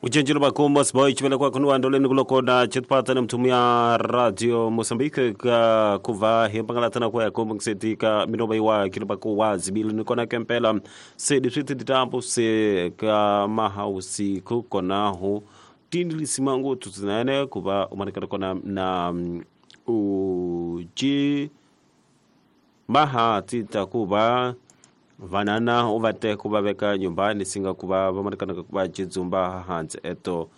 Ucinjilo bakumba siboy chivele kwa kunu andoleni kulokona chitpata na mtumia radio Mozambique ka kuva himpangalatana kwa yakumba ngisetika minoba iwa kiloba kuwa zibili nikona kempela se diswiti ditampo se ka mahausi kukonahu tindi lisimangu tutinane kuva umanikana kona na uji maha tita kuva vanana uvate kuvaveka nyumbani singa kuva vamanikana kuva chidzumba hansi eto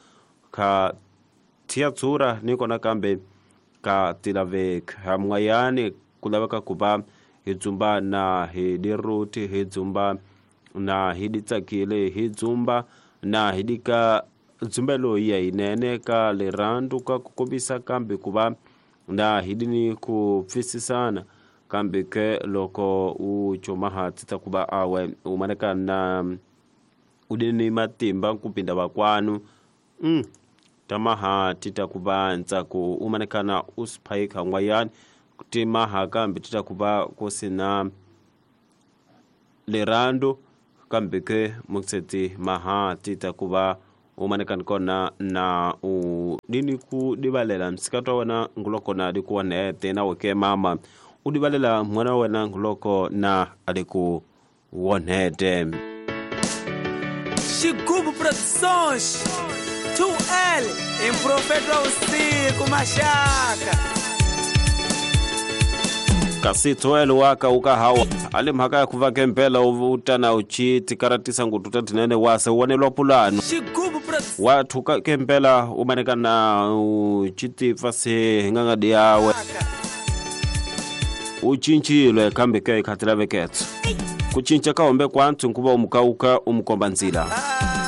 ka tiatsura nikona kambe ka tilaveka hamwayani kulaveka kuva hidzumba na hidiruti hidzumba na hiditsakile hidzumba na hidika dzumbelo ya inene ka lirandu ka kukombisa kambe kuva na hidini kupfisisana kambe ke loko u chomaha tita kuba awe umaneka na udini matimba kupinda vakwanu tamaha tita kuba ntsaku umanekana usiphaika ngwayani timaha kambe tita kuba kusina lerando kambe ke mukseti maha tita kuba umanekana kona na udini ku dibalela msikato wana nguloko na dikuwa nete na weke mama udibalela mwana wena nguloko na aliku wonete. Xigubu Produções 2L em Profeta Usiku Mashaka kasi 2L waka ukahawa ali mhaka ya kuva kempela utana uchiti karatisa ngututa tinene wase uwanelwa pulano watu kempela umanekana uchiti fasi ngangadi yawe uchinchilwe kambe ke ikhatila veketso kuchincha kaombe kwantu nkuva umukauka umukomba nzila.